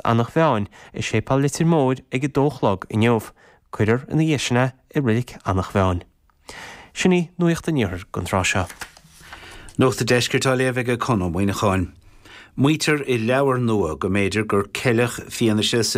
Eanach Mheáin i Séipéal Leitir Móir ag 2 a chlog inniu. Cuirfear ina dhiaidh sin é i Reilig Eanach Mheáin. Sin í Nuacht an Iarthair don tráth seo. Nuacht an Deiscirt á léamh ag Conn Ó Muíneacháin. Maítear i leabhar nua go mb'fhéidir gur ceileadh fianaise sa.